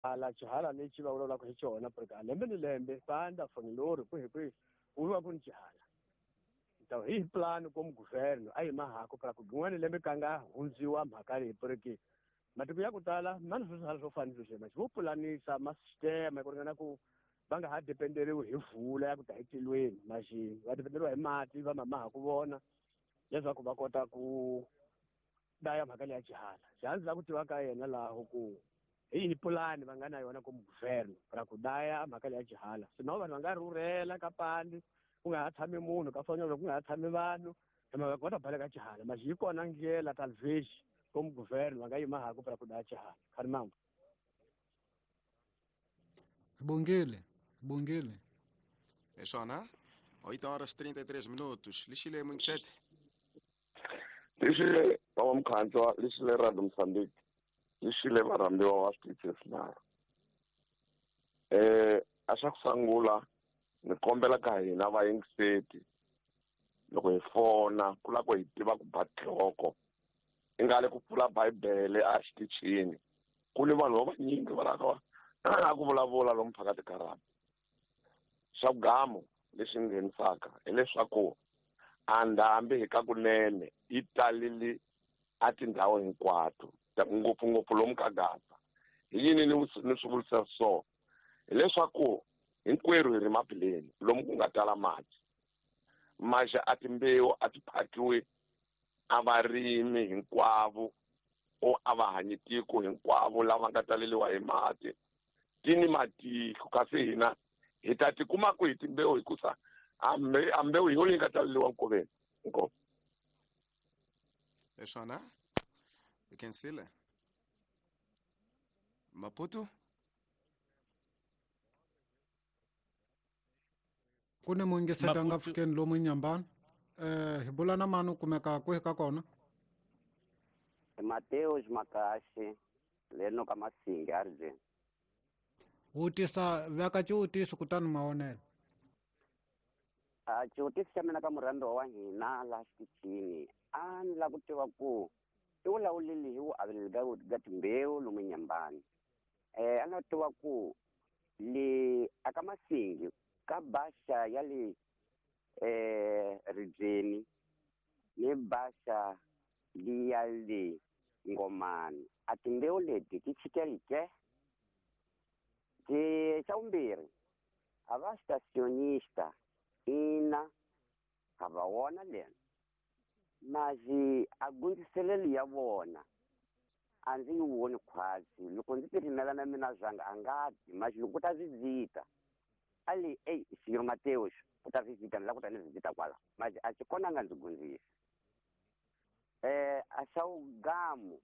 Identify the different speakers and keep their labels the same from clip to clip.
Speaker 1: Hala xihala lexi va vulavulaka hi xona porque a lembe ni lembe panda fonilori kwihi kwihi ku va ku ni xihala. Então hi plano como governo a yi mahako para ku rin'wana lembe ka nga hundziwa mhaka leyi porque matiko ya ku tala ma ni swihala swo fana ni sweswi manje vo pulanisa ma sistema ku ringana ku va nga ha dependeriwi hi vula ya ku ta etilweni maxi va dependeriwa hi mati va mamaha ku vona leswaku va kota ku daya mhaka leya xihala. Xihala ndzi lava ku tiva ka yena laho ku hi yihi pulani va nga na yona como governo ra ku daya mhaka leya xihala, sino vanhu va nga rhurhela ka pandi ku nga ha tshami munhu ka fonyolo ku nga ha tshami vanhu hi mhaka ku va ta baleka xihala. Maxi yi kona ndlela talvez como governo va nga yima haku para ku daya xihala. Kharimambo.
Speaker 2: Bongile, bongile.
Speaker 3: É swona 8 horas 33 minutos. Lixile Mwingsete.
Speaker 4: Lixile baba Mkhantswa, lixile Radio Mozambique, lixile varhambiwa wa switichi swinharhu. A xa ku sungula ni kombela ka hina vayingiseti loko hi fona ku lava ku hi tiva ku ba nhloko i nga le ku pfula bibele a xitichini ku ni vanhu va vanyingi va lava ku vulavula lomu phakathi ka rhabi. Xa vugamu lexi nghenisaka hileswaku a ndhambi hi ka kunene yi talile a tindhawu hinkwato ngopfungopfu lomu ka Gaza. Hi yini ni swi vurisa so? Hileswaku hinkwerhu hi ri mapileni lomu ku nga tala mati. Maxa a timbewu a ti phakiwi a varimi hinkwavo o a va hanyi tiko hinkwavo lava nga taleliwa hi mati. Ti ni matiko kasi hina hi ta tikuma ku hi timbewu hikusa a mbewu hi yona yi nga taleliwa nkoveni. Inkomu.
Speaker 3: É swona. You can see le. Maputo.
Speaker 2: Ku ni muyingiseti a nga pfukeni lomu Nyambani. Hi bula na mani u kumeka kwihi ka kona?
Speaker 5: Mateus Makashi leno ka Masingi Arjun.
Speaker 2: Vutisa veka xivutiso kutani mavonelo.
Speaker 5: A xivutiso xa mina ka murhambiwa wa hina laha xitichini a ni lava ku tiva ku i vulavulile hi vuaveleli ka timbewu lomu Nyambani. A ni lava ku tiva ku le aka Masingi ka baxa ya le Ribyeni ni baxa liya le Ngomani a timbewu leti ti chikeli ke? Xa vumbirhi a va stationista ina ha va wona lena mazi a gundziseleli ya vona a ndzi yi voni khwatsi. Loko ndzi ti rimela na mina zwanga a nga ti mazi loko ku ta visita a le ey Senhor Mateus ku ta visita ni lava ku ta ni visita kwala mazi a xi kona nga ndzi gundzisa. A xa wugamu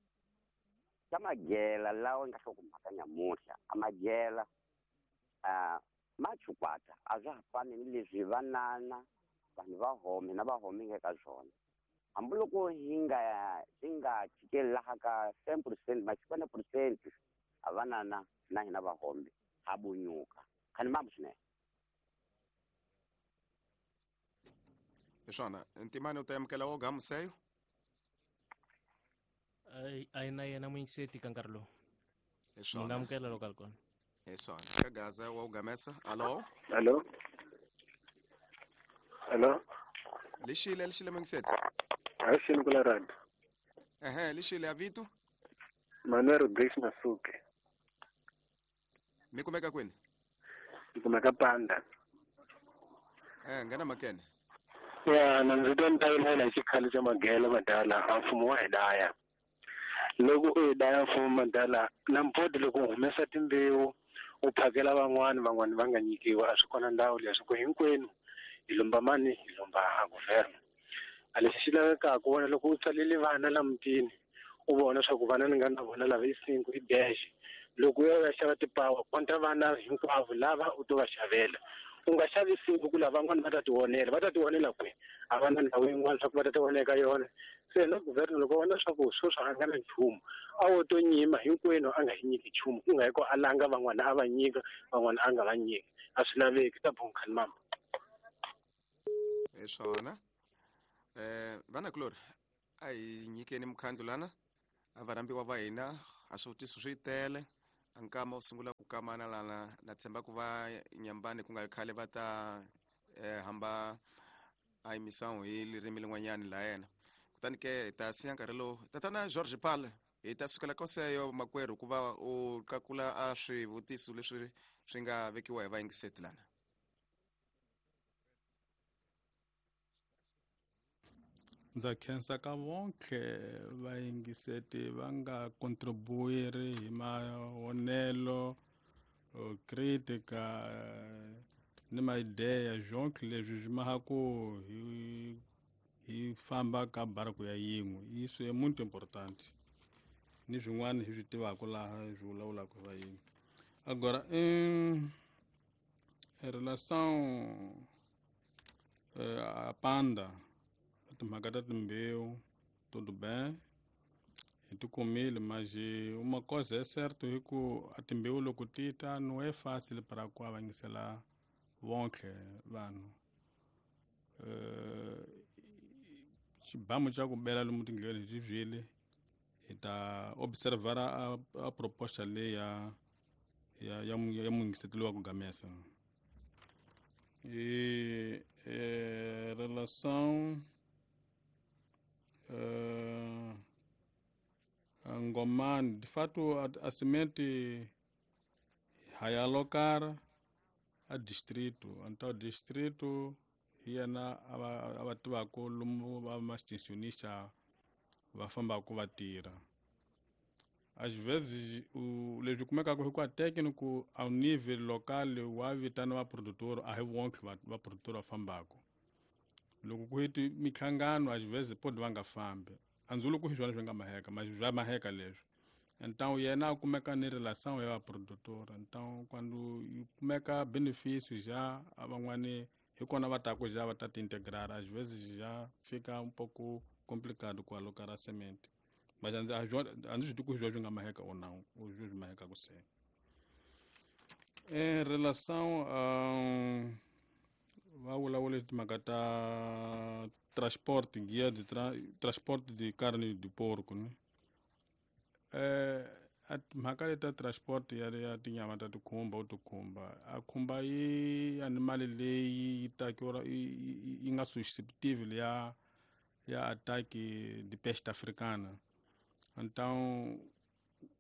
Speaker 5: xa magela lawa nga hlokomhaka nyamuhla a magela ma chukwata a swa ha fani ni leswi vanana vanhu va home na va home nga ka swona. Hambiloko hi nga swi nga chikeli laha ka 10% ma percent a vanana na hina va home ha bunyuka. Khani mambo swinene.
Speaker 3: Hi swona Ntimani u ta amukela wo gamuseyo?
Speaker 6: A yi na yena muyingiseti ka nkarhi lowu.
Speaker 3: Hi swona.
Speaker 6: Ni nga amukela loko a ri kona.
Speaker 3: Hi swona. Ka Gaza wa ugamesa. Alo?
Speaker 7: Alo? Alo?
Speaker 3: Lixile, lixile muyingiseti.
Speaker 7: A xini ku la radio.
Speaker 3: Ehe, lixile a vito?
Speaker 7: Manuel Rodrigues Masuke.
Speaker 3: Mi kumeka kwini?
Speaker 7: Ni kumeka Panda.
Speaker 3: Nghena makene.
Speaker 7: Ya, na ndzi twa ni ta vilela hi xikhale xa magela madala a mfumo wa hi daya. Loko u hi daya mfumo madala na mpoti loko u humesa timbewu u phakela van'wani van'wani va nga nyikiwa a swi kona ndhawu leswi ku hinkwenu hi lomba mani hi lomba a governo. A lexi xi lavekaka wena loko u tsalele vana la mutini u vona swa ku vana ni nga na vona lava i 5 i dash loko u ya u ya xava tipawa konta vana hinkwavo lava u to va xavela. U nga xavi 5 ku lava van'wani va ta tionela, va ta tionela kwihi? A va na ndhawu yin'wana swa ku va ta tionela eka yona. Se na governo loko vona swa ku sweswi a nga na nchumu a wo to nyima hinkwenu a nga hi nyiki nchumu ku nga hi ku a langa van'wana a va nyika van'wana a nga va nyiki a swi laveki ta bonkhani mama.
Speaker 3: Hi swona. Vana kulori a hi nyikeni mukhandlu lana a varhambiwa va hina a swivutiso swi tele a nkama u sungula kamana lana na tshemba ku va Nyambani ku nga ri khale va ta hamba a emissão hi ririmi lin'wanyani la yena. Kutani ke hi ta siya nkarhi lowu tatana George Pal hi ta sukela koseyo makwerhu ku va u qakula a swivutiso leswi swi nga vekiwa hi vayingiseti lana.
Speaker 8: Ndza khensa ka vonke vayingiseti va nga contribuiri hi mavonelo, critica ni maideya zonke leswi swi maha ku hi famba ka barco ya yin'we. Isso é muito importante. Ni swin'wana hi swi tivaka laha hi swi vulavulaka hi vayini. Agora, em relação a panda, timhaka ta timbewu, tudo bem, hi ti kumile, mas uma coisa é certo hi ku a timbewu loko ti ta não é fácil para ku avangisela vonke vanhu. Xibamu xa ku bela lomu tindleleni hi byile hi ta observar a proposta leyi ya muyingiseti wa ku gamesa. E relação a Ngomani, de fato a semente vai alocar a distrito, então distrito yena a va tivaka lomu va ma-extensionista va fambaka va tirha. Às vezes leswi kumekaka hi ku a técnico ao nível local wa vitana va produtor, a hi vonke va produtor va fambaka. Loko ku heti minhlangano às vezes pode va nga fambi. A ndzi vuli ku hi swona swi nga maheka, mas swa maheka leswi. Então yena a kumeka ni relação ya va produtor. Então quando yi kumeka benefício já a van'wani hi kona va taku já va ta ti integrar, às vezes já fica um pouco complicado ku alocar a semente. Mas a ndzi swi tivi ku hi swona swi nga maheka ou não, ou swi mahekaku se. Em relação a va vulavula timhaka ta transporte, guia de transporte de carne de porco, né? A timhaka leti ta transport ya tinyama ta tikhumba u tikhumba a khumba yi animali leyi yi takiwa yi nga susceptible ya ataque de peste africana. Então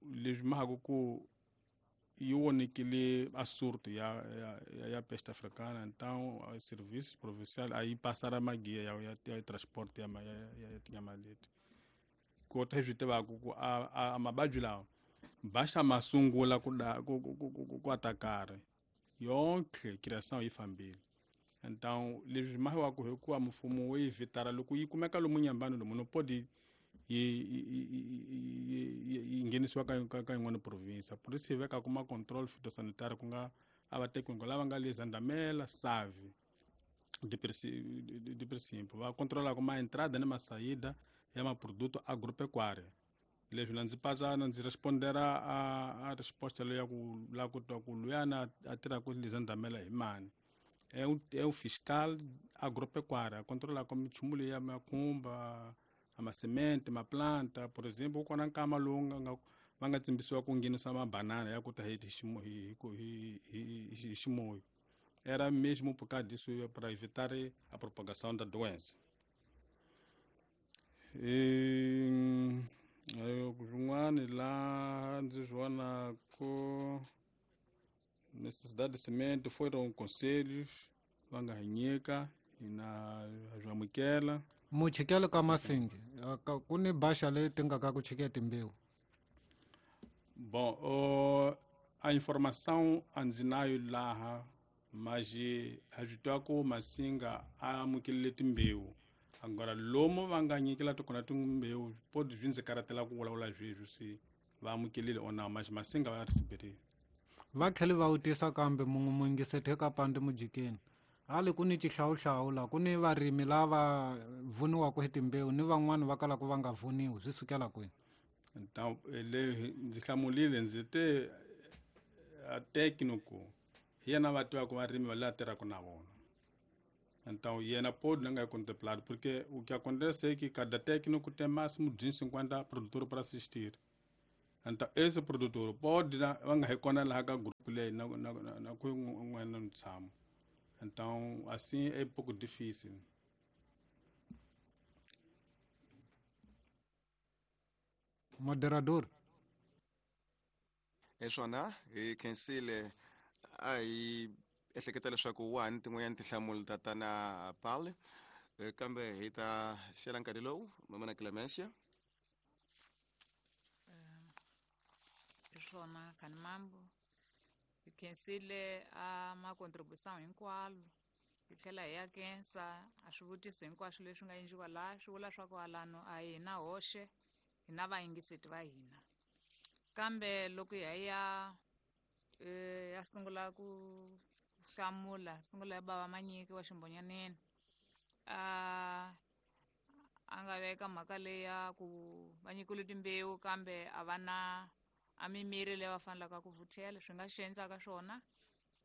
Speaker 8: leswi mahaka ku yi vonekile a surto ya peste africana. Então a serviço provincial a yi pasara maguia ya transport ya tinyama leti. Kota hi swi tivaka ku a mavabyi lawa baxa ma sungula ku atakare yonke criação yi fambile. Então leswi mahiwaku hikuva mfumo wo yi vitara loko yi kumeka lomu Nyambani lomu no pode yi nghenisiwa ka yin'wana province. Por isso hi vekaka ma control phytosanitary ku nga a va técnico lava nga le Zandamela, Save, de princípio va controlaka ma entrada ni ma saída ya ma produto agropecuário. Leswi na ndzi pasana ndzi respondera a resposta leyi ya ku la ku twa ku luyana a tirhaka le Zandamela hi mani. É o fiscal agropecuário, a controla como minchumu leyi ya makhumba, a ma semente, ma planta, por exemplo, ku kona nkama lowu nga va nga tsimbisiwa ku nghenisa mabanana ya ku ta hi ximoyo. Era mesmo por causa disso para evitar a propagação da doença. Swin'wana laha ndzi swi vonaku necessidade de semente foram conselhos va nga hi nyika hina ha swi amukela.
Speaker 2: Muchikelo ka Masingi ku ni baxa leyi ti nga ka ku chike timbewu.
Speaker 8: Bom, a informação a ndzi na yo laha, mas ha swi twa ku Masinga a amukelile timbewu. Agora lomu va nga nyikela tikona timbewu pode swi ndzi karhatela ku vulavula sweswi se va amukelile or não, mas Masinga va receberile.
Speaker 2: Va tlhele va vutisa kambe munhu muyingiseti ka pandi mujikeni hali ku ni xihlawuhlawu la ku ni varimi lava vuniwaka hi timbewu ni van'wani va kalaka va nga vuniwi swi sukela kwini?
Speaker 8: Então le ndzi hlamulile ndzi te a técnico hi yena va tivaka varimi va laha tirhaka na vona. Então yena pode não é contemplado porque o que acontece é que cada técnico tem máximo de 50 produtores para assistir. Então esse produtor pode va nga hi kona laha ka group Kule na ku n'wana ntshamo. Então, assim é pouco difícil.
Speaker 2: Moderador.
Speaker 3: Hi swona hi khensile a hi ehleketa leswaku wa ha ni tin'wanyana tinhlamulo tatana Paul, kambe hi ta siyela nkarhi lowu mama na Clemencia.
Speaker 9: Hi swona khani mambo hi khensile a ma-contribution hinkwalo hi tlhela hi ya khensa a swivutiso hinkwaswo leswi nga endliwa laha swi vula swa ku alano a hi na hoxe hi na vayingiseti va hina kambe loko hi ya ya sungula ku hlamula sungula ya bava Manyiki wa Ximbonyaneni a nga veka mhaka leyi ya ku va nyikiwile timbewu kambe a va na a mimiri leyi va fanelaka ku vuthela swi nga xi endlaka swona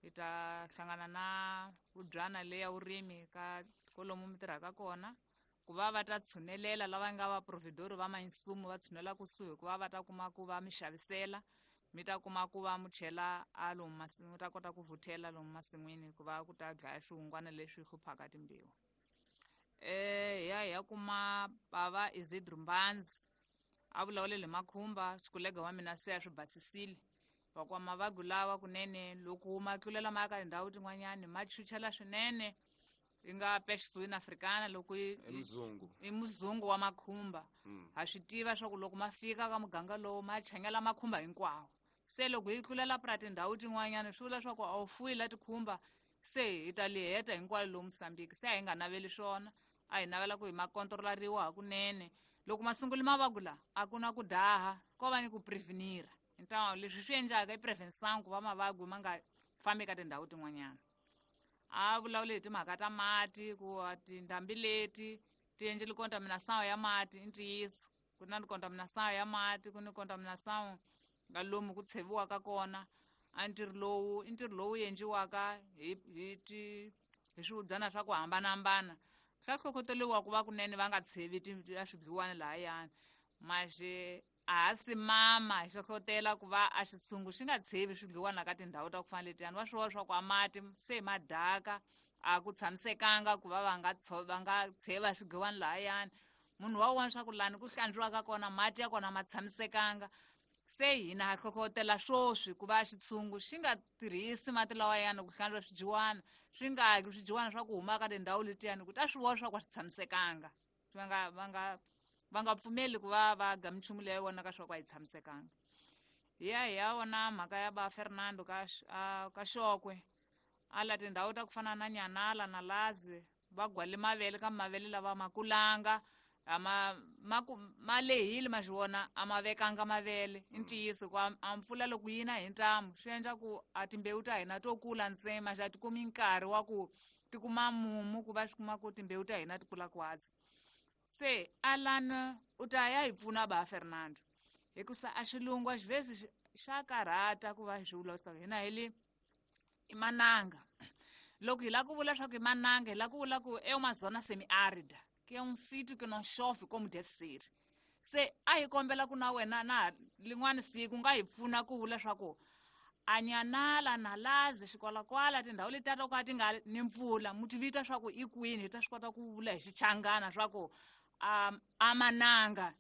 Speaker 9: hi ta hlangana na vubyana leyi ya vurimi ka kolomu mi tirhaka kona ku va va ta tshunelela lava nga va providor va mainsumu va tshunela kusuhi ku va va ta kuma ku va mi xavisela mi ta kuma ku va mu chela a lomu masin'wini mi ta kota ku vuthela lomu masin'wini ku va ku ta dlaya swihungwana leswi hluphaka timbewu. Ya kuma bava Isidro Mbanzi a vulavulele makhumba xikulega wa mina se a swi basisile va kwa mavabyi lawa kunene loko ma tlulela ma ya ka tindhawu tin'wanyani ma chuchela swinene yi nga peste africana loko i muzungu wa makhumba. Ha swi tiva swa ku loko ma fika ka muganga lowu ma changela makhumba hinkwawo se loko yi tlulela pra tindhawu tin'wanyana swi vula swa ku a wu fuyi la tikhumba se hi ta li heta hinkwalo lomu Mozambique se a hi nga naveli swona a hi navela ku hi ma kontrolariwa hakunene loko ma sungula mavabyi la a ku na ku daha ko va ni ku prevenira então leswi swi endlaka i prevention ku va mavabyi ma nga fambi ka tindhawu tin'wanyana. A vulavule hi timhaka ta mati ku tindhambi leti ti endlile contamination ya mati i ntiyiso ku na contamination ya mati ku ni contamination nga lomu ku tsheviwaka kona a ntirho lowu i ntirho lowu endliwaka hi swivubyana swa ku hambanahambana swa hlohloteriwa ku va kunene va nga tshevi a swidliwani lahayani maxe a ha simama hi hlohlotela ku va a xitshungu xi nga tshevi swidliwana ka tindhawu ta ku fana letiyani va swi vona swa ku a mati se ma daka a ku tshamisekanga ku va va nga tsheva swidliwani lahayani munhu wa vona swa ku lani ku hlantswiwaka kona mati ya kona ma tshamisekanga se hina ha hlohlotela swoswi ku va xitshungu xi nga tirhisi mati lawayani ku hlantswa swidyiwana swi nga ki swidyiwana swa ku huma ka tindhawu letiyani ku ta swi vona swa ku a swi tshamisekanga va nga pfumeli ku va va ga minchumu leyi vonaka swa ku a yi tshamisekanga. Hi ya vona mhaka ya ba Fernando ka Xokwe a la tindhawu ta ku fana na Nyanala na Lazi va gwale mavele kambe mavele lava ma kulanga ma lehile ma xi vona a ma vekanga mavele i ntiyiso ku a mpfula loko yi na hi ntamu swi endla ku a timbewu ta hina to kula ntsena xa ti kumi nkarhi wa ku ti kuma mumu ku va swi kuma ku timbewu ta hina ti kula kwatsi. Se Alan u ta ya hi pfuna ba Fernando hikusa a xilungu a xivhezi xa karhata ku va swi vula hina hi le i mananga loko hi lava ku vula swa ku i mananga hi lava ku vula ku é uma zona semiárida que é um sítio que não chove como deve ser. Se a hi kombela ku na wena na lin'wana siku nga hi pfuna ku vula swa ku a Nyanala na Lazi xikwalakwala tindhawu letiya to ka ti nga ni mpfula mu ti vita swa ku i kwini hi ta swi kota ku vula hi xichangana swa ku a mananga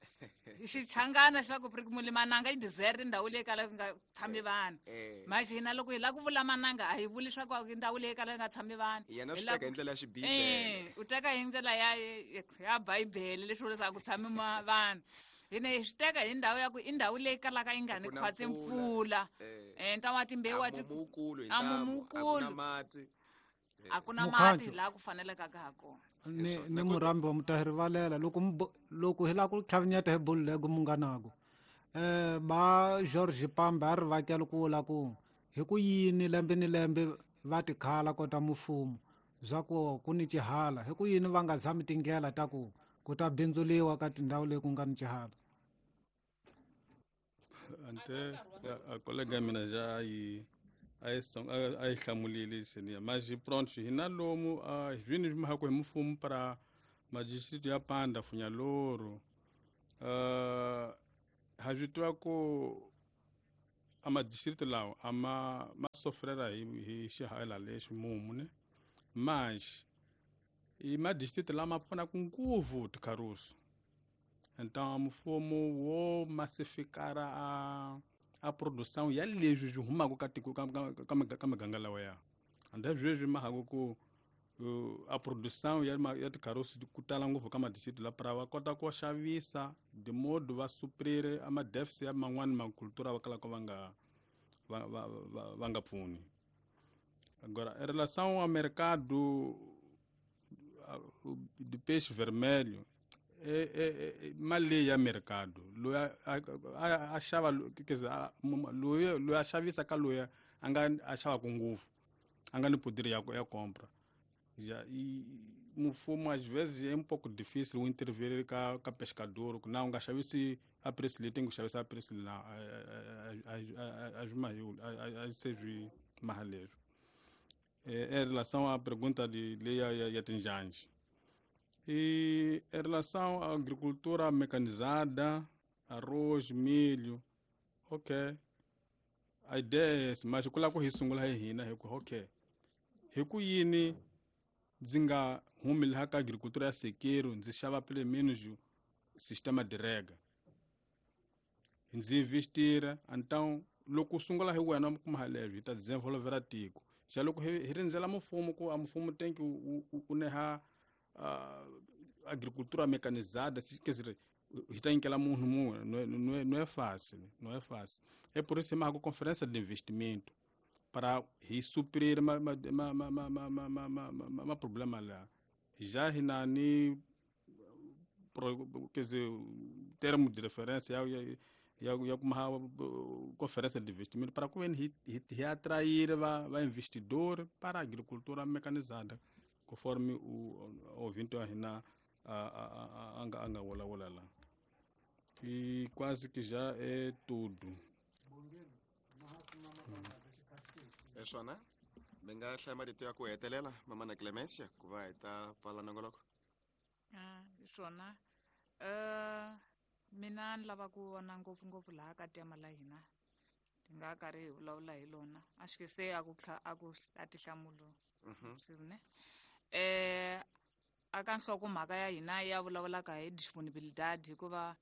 Speaker 9: hi xichangana xa ku muli mananga i desert ndhawu leyi kalaka ku nga tshami vanhu manje hina loko hi lava ku vula mananga a hi vuli swa ku ndhawu leyi kalaka ku nga tshami vanhu
Speaker 3: yena swi teka hi ndlela ya xibibele
Speaker 9: u teka hi ndlela ya bibele leswi vulaka ku tshami vanhu hina hi swi teka hi ndhawu ya ku i ndhawu leyi kalaka yi nga ni khwatsi mpfula ntawa timbewu
Speaker 3: a mumukulu
Speaker 9: a ku na mati laha ku fanelekaka ha kona.
Speaker 2: Ni murambi wa mutahirivalela loko hi lava ku tlhavinyeta hi bululego munghanaku ba George Pambe a ri vakela ku vula ku hi ku yini lembe ni lembe va tikhala kota mufumo bya ku ku ni xihala hi ku yini va nga zami tindlela ta ku ku ta bindzuliwa ka tindhawu leyi ku nga ni xihala.
Speaker 8: Ante a colega mina já yi a yi hlamulile seniya mas pronto hina lomu vini mahako hi mfumo para madistrito ya Panda Funhalouro ha swi tiva ku a madistrito lawa a ma sofrera hi xihaela lexi mumu ne mas i madistrito lama pfunaka ngopfu tikharusu. Então mfumo wo massificar a produção ya leswi swi humaka ka tiko ka miganga lawa ya ande sweswi mahaka ku a produção ya tikharusu ku tala ngopfu ka madistrito la pra va kota ku xavisa de modo va suprir a ma-déficit ya man'wani makultura va kalaka va nga pfuni. Agora, em relação ao mercado de peixe vermelho, mali ya mercado loyi a xava, quer dizer, loyi a xavisa ka loyi a nga a xavaka ngopfu a nga ni poder ya compra. Já e mfumo às vezes é um pouco difícil o intervir ka pescador, não nga xavisi a preço leyi tem que xavisa a preço lá a serve mahalero. Em relação à pergunta de lei ya tinjanji. E em relação à agricultura mecanizada, arroz, milho, ok. A ideia é essa, mas kula ku hi sungula hi hina hi ku ok. Hi ku yini ndzi nga humi laha ka agricultura ya sequeiro, ndzi xava pelo menos sistema de rega. Ndzi investira, então loko u sungula hi wena u kuma halevyo hi ta desenvolvera tiko. Xa loko hi rindzela mfumo ku a mfumo tem que u neha agricultura mecanizada, quer dizer, hi ta nyikela munhu mun'we, não é fácil, não é fácil. É por isso que conferência de investimento para hi suprir ma problema lá. Já hi na ni, quer dizer, termo de referência ya kuma conferência de investimento para que hi atrair va investidor para a agricultura mecanizada, conforme o ouvinte a hina a anga wala lá. E quase que já é tudo.
Speaker 3: É swona mi nga hlaya marito ya ku hetelela mamana Clemencia ku va hi ta pfala nongoloko.
Speaker 9: Hi swona. Mina ni lava ku vona ngopfungopfu laha ka tema la hina ti nga karhi hi vulavula hi lona a xi se a ku a tihlamulo sizine aka nhlokomhaka ya hina ya vulavulaka hi disponibilidade, hikuva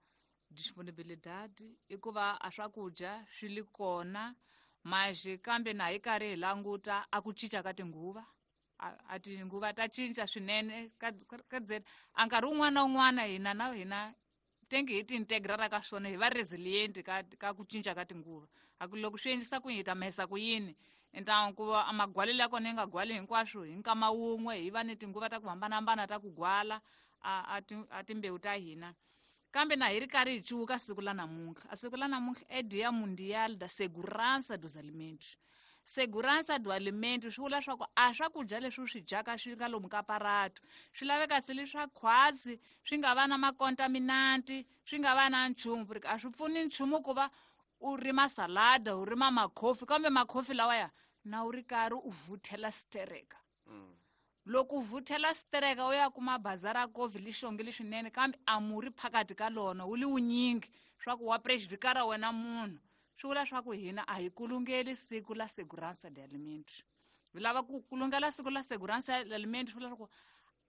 Speaker 9: disponibilidade i ku va a swakudya swi li kona mas kambe na hi karhi hi languta a ku cinca ka tinguva, a tinguva ta cinca swinene ka a nkarhi wun'wana na wun'wana hina na hina tengi hi ti integrara ka swona hi va resilient ka ku cinca ka tinguva. A ku loko swi endlisa ku yini hi ta mahisa ku yini, então ku va a magwalelo ya kona yi nga gwali hinkwaswo hi nkama wun'we, hi va ni tinguva ta ku hambanahambana ta ku gwala a timbewu ta hina. Kambe na hi ri karhi hi cuka siku la namuntlha, a siku la namuntlha é Dia Mundial da Segurança dos Alimentos. Segurança do alimento swi vula swa ku a swakudya leswi u swi dyaka swi nga lomu ka paratu swi laveka se leswa khwatsi, swi nga va na makontaminanti, swi nga va na nchumu, porque a swi pfuni nchumu ku va u rima salada, u rima makhofi, kambe makhofi lawaya na u ri karhi u vuthela stereka. Loko u vuthela stereka u ya kuma bazara kofi li xongile swinene, kambe a murhi phakathi ka lona wu li wunyingi swa ku wa prejudikara wena munhu. Swi vula swa ku hina a hi kulungeli siku la segurança de alimentos. Hi lava ku kulungela siku la segurança de alimentos, swi vula swa ku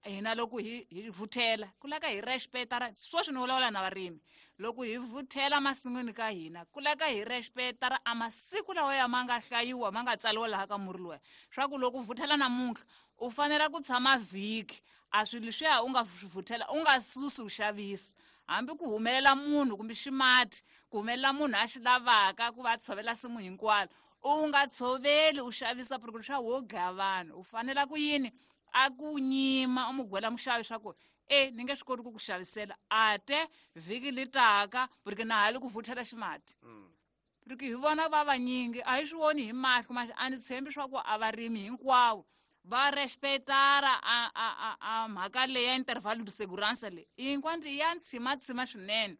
Speaker 9: hina loko hi vuthela ku laka hi respecta sweswi ni vulavula na varimi, loko hi vuthela masin'wini ka hina ku laka hi respecta a masiku lawa ya ma nga hlayiwa ma nga tsariwa laha ka murhi luwa, swa ku loko u vuthela namuntlha u fanele ku tshama vhiki a swilo leswiya u nga swi vuthela u nga susi u xavisa, hambi ku humelela munhu kumbe ximati ku humelela munhu a xi lavaka ku va tshovela simu hinkwalo, u nga tshoveli u xavisa porque leswaku wo dlaya vanhu. U fanela ku yini a ku nyima u mu gwela muxavi swa ku ni nge swi koti ku ku xavisela ate vhiki li taka porque na ha li ku vuthela ximati. Porque hi vona va vanyingi a hi swi voni hi mahlo, mas a ni tshembi swa ku a varimi hinkwavo va respectara a mhaka leyi ya intervalo de segurança leyi hinkwanti ya ntshimatshima swinene.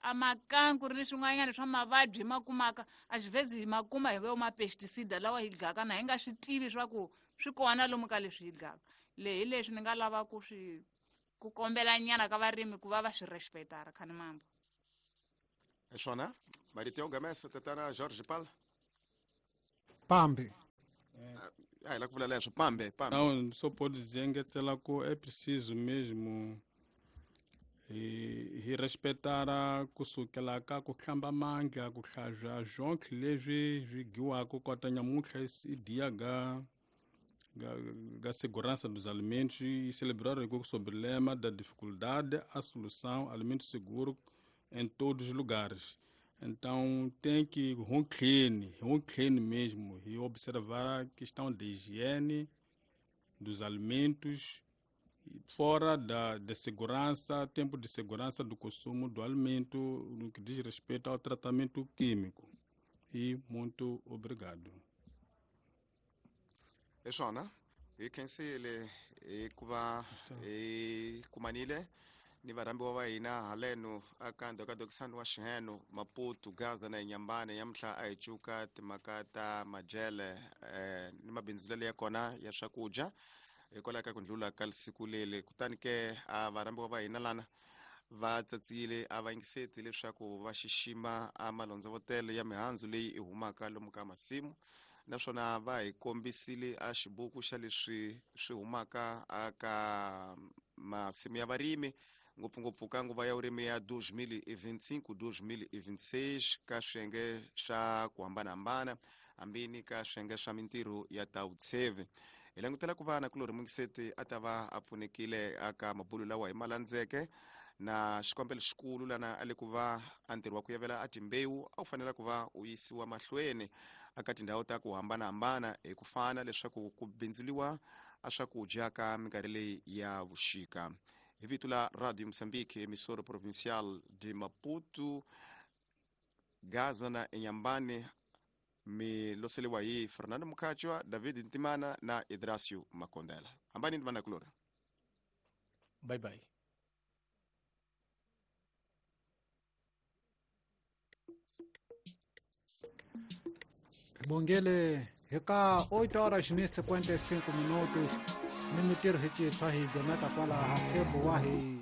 Speaker 9: A makanku ri ni swin'wanyana swa mavabyi hi ma kumaka a xivhezi hi ma kuma hi vo ma-pesticida lawa hi dlaka na hi nga swi tivi swa ku swi kona lomu ka leswi hi dlaka. Leyi hi leswi ni nga lava ku swi ku kombela nyana ka varimi ku va va swi respectara khani mambo.
Speaker 3: Hi swona marito yo gamesa tatana George Pal.
Speaker 2: Pambi.
Speaker 3: A hi la ku vula leswo pambe pambe.
Speaker 8: Não, só pode dizer que é preciso mesmo hi respeitar kusukela ka ku hlamba mandla ku hlazwa zonke leswi swi dyiwaka kota nyamuntlha i dia ga ga segurança dos alimentos e celebrar o sobre o lema da dificuldade a solução alimento seguro em todos os lugares. Então tem que clean mesmo e observar a questão da higiene dos alimentos fora da segurança, tempo de segurança do consumo do alimento no que diz respeito ao tratamento químico. E muito obrigado.
Speaker 3: É só, né? E quem se ele kuva e kumanile ni varhambiwa va hina haleno aka ndhokadokisani wa xiheno Maputo Gaza na Inhambane nyamuntlha a hi cuka timhaka ta majele ni mabindzulelo ya kona ya swakudya hikwalaho ka ku ndlula ka siku leli. Kutani ke a varhambiwa va hina lana va tsatsile a va yingiseti leswaku va xixima a malondzovotelo ya mihandzu leyi i humaka lomu ka masimu, naswona va hi kombisile a xibuku xa leswi swi humaka aka masimu ya varimi ngopfungopfu ka nguva ya vurimi ya 2025 2026 ka swiyenge swa ku hambanahambana hambi ni ka swiyenge swa mintirho ya ta vutsheve. Hi langutela ku va na kulorhi mungiseti a ta va a pfunekile aka mabulu lawa hi malandzeke na xikombelo xikulu lana a le ku va a ntirho wa ku yavela a timbewu a wu fanela ku va u yisiwa mahlweni aka tindhawu ta ku hambanahambana hi ku fana leswaku ku bindzuliwa a swakudya ka minkarhi leyi ya vuxika. Hi vito la Radio Mozambique, emissora provincial de Maputo, Gaza na Inhambane, mi loseliwa hi Fernando Mukachwa, David Ntimana na Idrasio Makondela. Hambani ni vana kulora.
Speaker 6: Bye bye.
Speaker 2: Bongele heka 8 horas ni 55 minutos ni mitirho hi citshwa hi gemeta kwalaha febo wa hi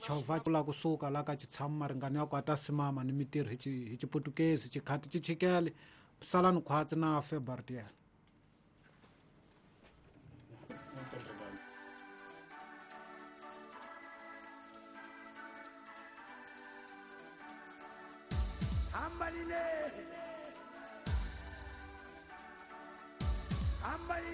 Speaker 2: chovha la kusuka la ka xitshama maringani ya ku ata simama ni mitirho hi xiputukezi xikhati xi chikele salani khwatsi na febartiel.
Speaker 10: Ambalile. Ambalile.